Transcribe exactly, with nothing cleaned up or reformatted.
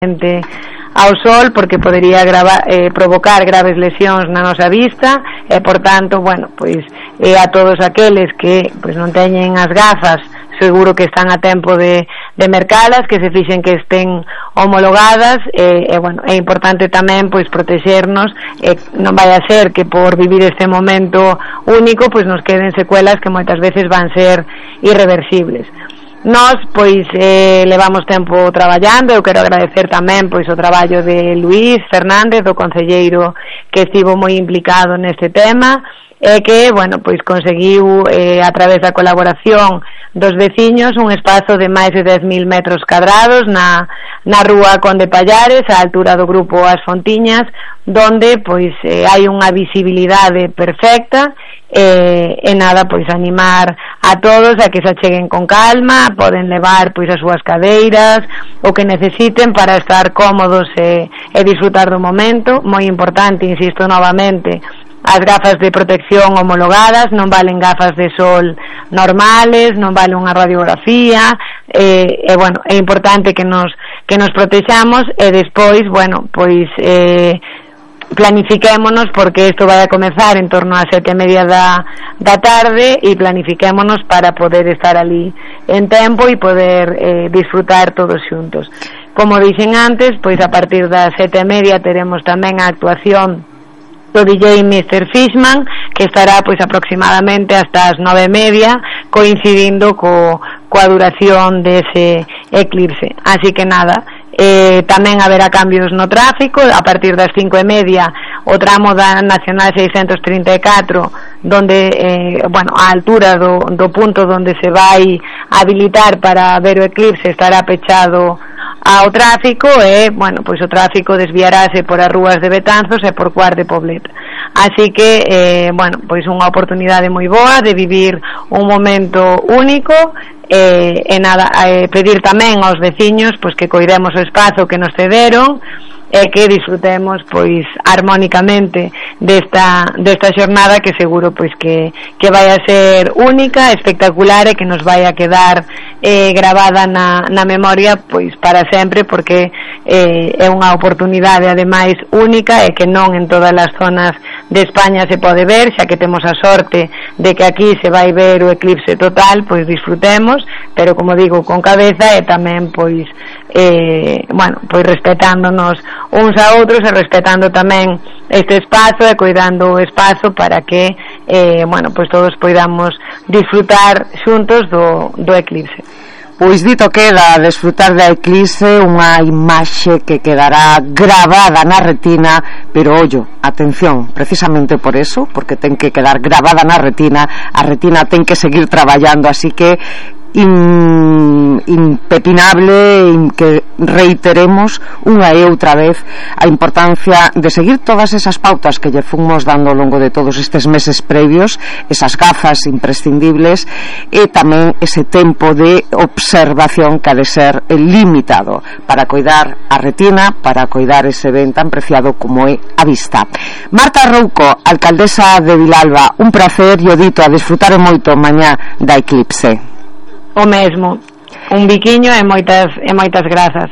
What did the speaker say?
ao sol, porque podería grava, eh, provocar graves lesións na nosa vista e, por tanto, bueno, pois eh, a todos aqueles que pois non teñen as gafas, seguro que están a tempo de, de mercalas, que se fixen que estén homologadas, e, e bueno, é importante tamén pois protexernos, e non vai a ser que por vivir este momento único pois nos queden secuelas que moitas veces van ser irreversibles. Nós, pois, eh, levamos tempo traballando. Eu quero agradecer tamén, pois, o traballo de Luís Fernández, do concelleiro que estivo moi implicado neste tema, e que, bueno, pois, conseguiu, eh, a través da colaboración dos veciños, un espazo de máis de dez mil metros cadrados na, na rúa Conde Pallares, á altura do grupo As Fontiñas, donde, pois, eh, hai unha visibilidade perfecta. E, e nada, pois animar a todos a que se acheguen con calma, poden levar pois as súas cadeiras, o que necesiten para estar cómodos e, e disfrutar do momento. Moi importante, insisto novamente, as gafas de protección homologadas, non valen gafas de sol normales, non vale unha radiografía, e, e bueno, é importante que nos, que nos protexamos, e despois, bueno, pois eh, planifiquémonos, porque isto vai a comezar en torno a sete e media da, da tarde, e planifiquémonos para poder estar ali en tempo e poder eh, disfrutar todos xuntos. Como dixen antes, pois a partir das sete e media teremos tamén a actuación do D J mister Fishman, que estará pois aproximadamente hasta as nove e media, coincidindo co, coa duración dese eclipse. Así que nada, Eh, tamén haberá cambios no tráfico. A partir das cinco e media o tramo da Nacional seiscentos trinta e catro, donde eh, bueno, a altura do, do punto donde se vai habilitar para ver o eclipse, estará pechado ao tráfico, e bueno, pois o tráfico desviarase por as rúas de Betanzos e por Cuart de Poblet. Así que eh, bueno, pois unha oportunidade moi boa de vivir un momento único. E, e nada, eh, pedir tamén aos veciños pois que coidemos o espazo que nos cederon, e que disfrutemos pois armónicamente desta, desta xornada, que seguro pois que, que vai a ser única, espectacular, e que nos vai a quedar eh, gravada na, na memoria pois para sempre, porque eh, é unha oportunidade ademais única, e que non en todas as zonas de España se pode ver, xa que temos a sorte de que aquí se vai ver o eclipse total, pois disfrutemos, pero como digo, con cabeza, e tamén pois eh, bueno, pois respetándonos uns a outros, e respetando tamén este espazo, e cuidando o espazo para que eh, bueno, pois todos poidamos disfrutar xuntos do, do eclipse. Pois dito queda, desfrutar da eclipse, unha imaxe que quedará gravada na retina, pero ollo, atención, precisamente por eso, porque ten que quedar gravada na retina, a retina ten que seguir traballando, así que In, impepinable in, que reiteremos unha e outra vez a importancia de seguir todas esas pautas que lle fomos dando ao longo de todos estes meses previos, esas gafas imprescindibles, e tamén ese tempo de observación que ha de ser limitado para coidar a retina, para coidar ese ben tan preciado como é a vista. Marta Rouco, alcaldesa de Vilalba, un placer, e o dito, a disfrutar moito mañá da eclipse. O mesmo, un biquiño e moitas, e moitas grazas.